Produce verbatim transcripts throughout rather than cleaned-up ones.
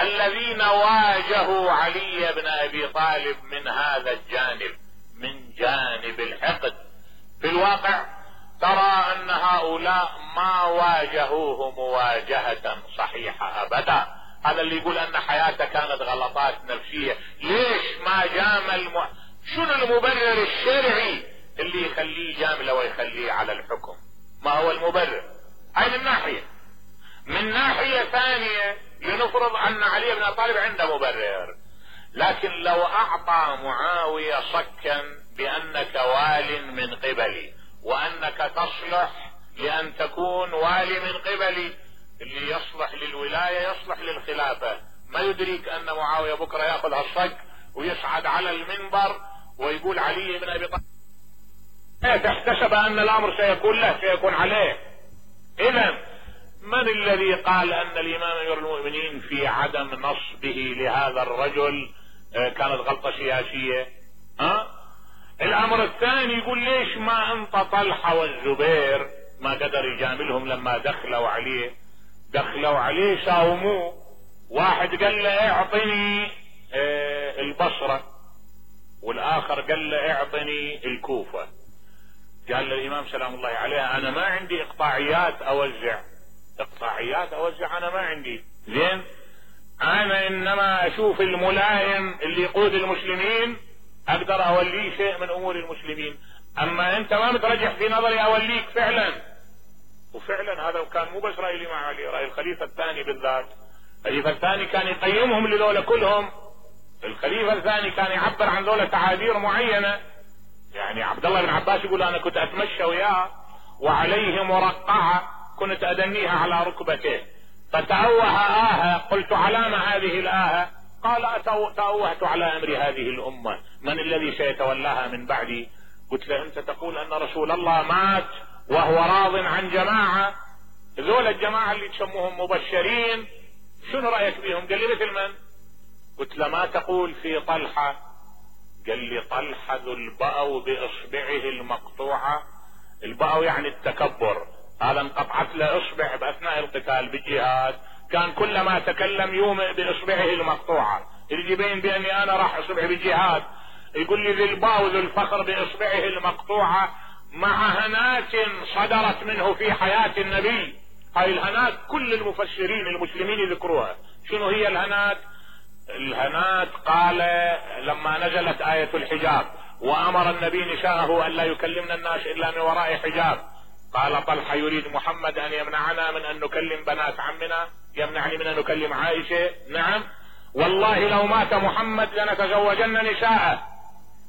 الذين واجهوا علي بن ابي طالب من هذا الجانب، من جانب الحقد. في الواقع ترى ان هؤلاء ما واجهوه مواجهة صحيحة ابدا. هذا اللي يقول ان حياته كانت غلطات نفسية، ليش ما جامل م... شنو المبرر الشرعي اللي يخليه جامله ويخليه على الحكم؟ ما هو المبرر؟ هاي من ناحية. من ناحية ثانية لنفرض ان علي بن ابي طالب عنده مبرر، لكن لو اعطى معاوية صكا بانك وال من قبلي وانك تصلح لان تكون والي من قبلي، اللي يصلح للولاية يصلح للخلافة. ما يدريك ان معاوية بكرة ياخذ هالصك ويصعد على المنبر ويقول علي بن ابي طالب احتسب ان الامر سيكون له سيكون عليه. اذا من الذي قال ان الامام امير المؤمنين في عدم نصبه لهذا الرجل كانت غلطة سياسية؟ ها؟ الامر الثاني يقول ليش ما انت طلحة والزبير ما قدر يجاملهم لما دخلوا عليه؟ دخلوا عليه ساوموه، واحد قال له اعطني اه البصرة والاخر قال له اعطني الكوفة. قال للامام سلام الله عليه انا ما عندي اقطاعيات اوزع، اقطاعيات اوزع انا ما عندي، زين انا انما اشوف الملائم اللي يقود المسلمين اقدر اوليه شيء من امور المسلمين، اما انت ما مترجح في نظري اوليك فعلا. وفعلا هذا كان مو بس رأي الامام علي، رأي الخليفة الثاني بالذات. الخليفة الثاني كان يقيمهم لذولا كلهم، الخليفة الثاني كان يعبر عن ذولا تعابير معينة. يعني عبد الله بن عباس يقول انا كنت اتمشى وياه وعليه مرقعة كنت ادنيها على ركبته فتأوه آهة، قلت على ما هذه الآهة؟ قال تأوهت على امر هذه الامة، من الذي سيتولاها من بعدي؟ قلت له انت تقول ان رسول الله مات وهو راض عن جماعة، ذول الجماعة اللي تسموهم مبشرين شنو رأيك بهم؟ قال لي مثل من؟ قلت له ما تقول في طلحة؟ قال لي طلحة ذو البأو بإصبعه المقطوعة. البأو يعني التكبر، هذا انقطعت له اصبع باثناء القتال بالجهاد، كان كلما تكلم يومئ باصبعه المقطوعة، اللي يبين باني انا راح اصبع بالجهاد. يقول لي ذي الباو ذو الفخر باصبعه المقطوعة مع هنات صدرت منه في حياة النبي. هاي الهنات كل المفسرين المسلمين يذكروها. شنو هي الهنات؟ الهنات قال لما نزلت آية الحجاب وامر النبي نساءه ان لا يكلمنا الناس الا من وراء حجاب، قال طلحة يريد محمد ان يمنعنا من ان نكلم بنات عمنا، يمنعني من ان نكلم عائشة؟ نعم والله لو مات محمد لنتزوجن نساءه.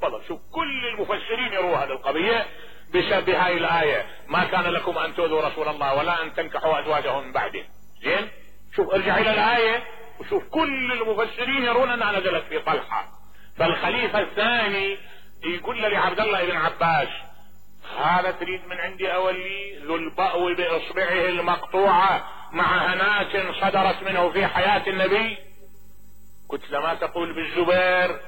والله شوف كل المفسرين يروها هذه القضية بهاي الآية، ما كان لكم ان تؤذوا رسول الله ولا ان تنكحوا ازواجه من بعده. زين شوف ارجع الى الآية وشوف كل المفسرين يرون انها نزلت في طلحة. فالخليفة الثاني يقول لعبد الله بن عباس هذا تريد من عندي اولي ذو البأو باصبعه المقطوعة مع هنات صدرت منه في حياة النبي؟ قلت له ما تقول بالزبير؟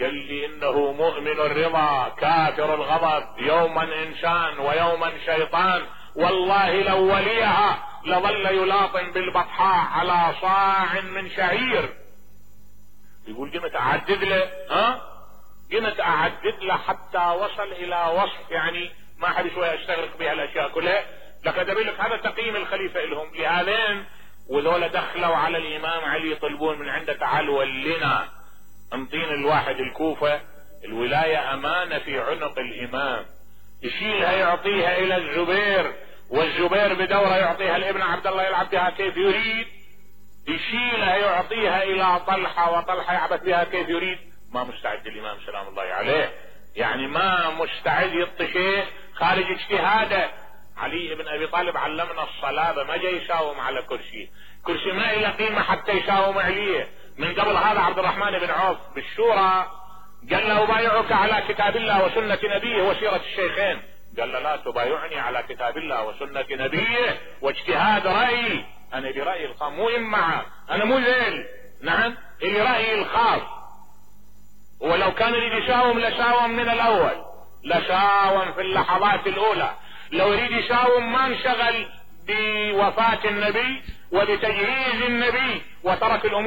قال لي انه مؤمن الرضا كافر الغضب، يوما انسان ويوما شيطان، والله لو وليها لظل يلاطم بالبطحاء على صاع من شعير. يقول قمت اعدد له ها قمت اعدد له حتى وصل الى وصف يعني ما حد شوية اشتغرق بها الاشياء كلها. لقد اقول لك هذا تقييم الخليفة لهم لهذين. وذولا دخلوا على الامام علي يطلبون من عنده تعال ولنا انطينا الواحد الكوفة، الولاية امانة في عنق الامام، يشيلها يعطيها الى الزبير، والزبير بدورة يعطيها لابن عبد الله يلعب بها كيف يريد، يشيلها يعطيها الى طلحة وطلحة يعبث بها كيف يريد. ما مستعد الامام سلام الله عليه، يعني ما مستعد يعطي شيء خارج اجتهاده. علي بن ابي طالب علمنا الصلابة، ما جاي يساوم على كرسي، كرسي ما له قيمة حتى يساوم عليه. من قبل هذا عبد الرحمن بن عوف بالشورى قال له ابايعك على كتاب الله وسنة نبيه وسيرة الشيخين، قال له لا تبايعني على كتاب الله وسنة نبيه واجتهاد رأيي، انا برأيي الخاص مو امعة، انا مو ذيل، نعم اللي رأيي الخاص. ولو كان يريد يساوم لساوم من الاول، لساوم في اللحظات الاولى. لو يريد يساوم ما انشغل بوفاة النبي وبتجهيز النبي وترك الامور